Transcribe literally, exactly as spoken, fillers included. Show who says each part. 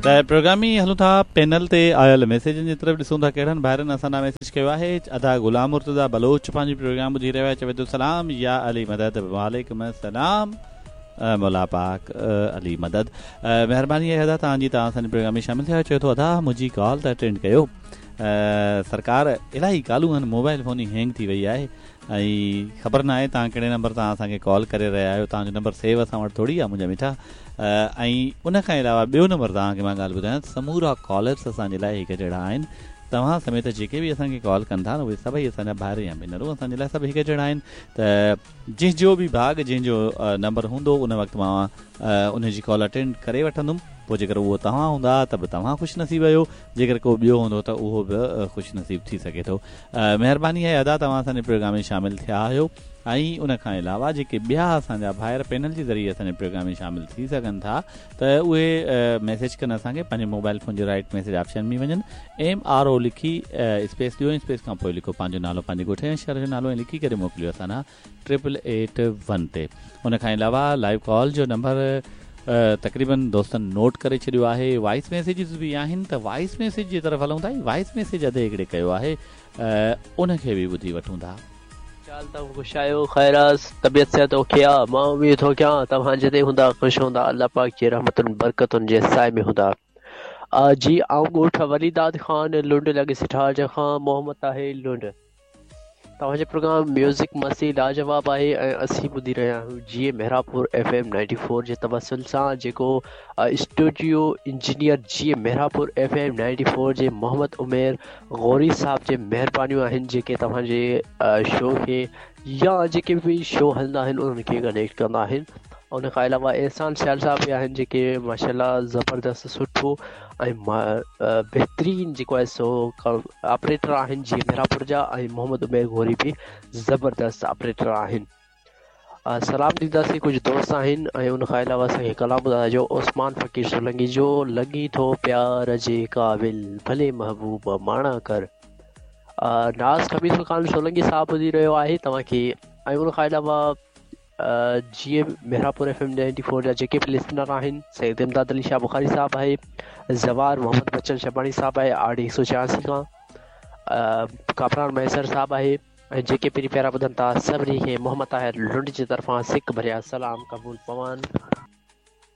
Speaker 1: ته پروگرام ۾ هلون ٿا پينل تي آيل ميسيجن جي طرف ڏسون ٿا ڪهڙن ڀائرن اسان ڏانهن ميسيج ڪيو آهي. ادا غلام مرتضيٰ بلوچ پنهنجي پروگرام ٻڌي رهيو آهي، چوي ٿو سلام يا علي مدد. وعليڪم السلام، مولا پاڪ علي مدد. مهرباني آهي ادا توهان جي، توهان اسان جي پروگرام ۾ شامل ٿيا. چوي ٿو ادا منهنجي ڪال ته اٽينڊ ڪيو، سرڪار الاهي ڪالون آهن، موبائل فون ئي هينگ ٿي وئي آهي ۽ خبر نه آهي توهان ڪهڙي نمبر تان اسان کي ڪال ڪري رهيا آهيو، توهان جو نمبر سيو اسان وٽ ٿوري آهي منهنجا مٺا. ۽ ان کان علاوه ٻيو نمبر توهان کي مان ڳالهه ٻڌايان، سمورا ڪالرس اسان جي لاءِ هڪ جهڙا آهن، توهان سميت جيڪي به اسان کي ڪال ڪن ٿا نه اهي سڀئي اسان جا ڀائر يا ڀينرون اسان جي لاءِ سڀ هڪ جهڙا آهن. ته جنهن جو به ڀاڳ جنهن جو نمبر هوندو ان وقت مان ان جي ڪال اٽينڊ ڪري وٺندم، پوءِ جيڪر اهو توهان هوندا ته به توهان خوش نصيب آهيو، جيڪر ڪو ٻيو هوندو ته اهو به خوش نصيب ٿي سگهي ٿو. مهرباني آهي ادا توهان اسان جي پروگرام ۾ شامل ٿيا آهيو. ۽ ان کان علاوه جيڪي ٻيا اسان جا ڀائر پينل جي ذريعي اسان جي پروگرام ۾ شامل ٿي سگهن ٿا ته اهي ميسيج ڪن اسان کي، پنهنجي موبائل فون جي رائيٽ ميسيج آپشن ۾ وڃن، ايم آر او لکي اسپيس ڏيو ۽ اسپيس کان پوءِ لکو پنهنجو نالو، پنهنجي ڳوٺ يا شهر جو نالو ۽ لکي ڪري موڪليو اسان ڏانهن ٽرپل ايٽ ون تي. ان کان علاوه لائيو ڪال جو نمبر تقريبن دوستن نوٽ ڪري ڇڏيو آهي، وائس ميسيجز به آهن ته وائس ميسيج جي طرف هلون ٿا. وائس ميسيج اڌ هڪڙي ڪيو آهي ان کي به ٻڌي وٺون ٿا.
Speaker 2: چال توهان خوش آهيو؟ خير آ، طبيعت صحت اوڪي آ؟ مان اميد ٿو ڪيان توهان جتي هوندا خوش هوندا، الله پاڪ جي رحمتن برڪتن جي سائي ۾ هوندا. جي آئون ڳوٺ وليداد خان لنڊ لڳي سٺارج کان محمد طاهر لنڊ. توهان جو پروگرام ميوزڪ مستي لاجواب آهي ۽ اسين ٻڌي رهيا آهيون جي Mehrabpur F M ninety four جي توسل سان، جيڪو اسٽوڊيو انجنيئر جي Mehrabpur F M ninety four جي محمد عمير غوري صاحب جي مهربانيون آهن جيڪي توهان جي شو کي يا جيڪي به شو هلندا آهن انهن کي ڪنيڪٽ ڪندا آهن. ان کان علاوه احسان سيال صاحب به آهن جيڪي ماشاءَ الله زبردست سٺو ۽ بهترين جيڪو آهي سو آپريٽر آهن جي مهراپور جا، ۽ محمد عمير غوري به زبردست آپريٽر آهن. سلام ڏينداسين ڪجهه دوست آهن. ۽ ان کان علاوه اسان کي ڪلام ٻڌائجو عثمان فقير سولنگي جو، لڳي ٿو پيار جي قابل ڀلي محبوب ماڻا ڪر. ناز خميس خان سولنگي صاحب ٻڌي رهيو آهي توهان کي. ۽ ان کان علاوه جي Mehrabpur F M ninety four جا جيڪي به لسنر آهن، سيد امداد علي شاهه بخاري صاحب آهي، زوار محمد بچن شباڻي صاحب آهي آر ڊي هڪ سؤ ڇهاسي کان، ڪامران مهيسر صاحب آهي، ۽ جيڪي پرين پيارا ٻڌن ٿا سڀني کي محمد طاهر لنڊ جي طرفان سڪ ڀريا سلام قبول پون.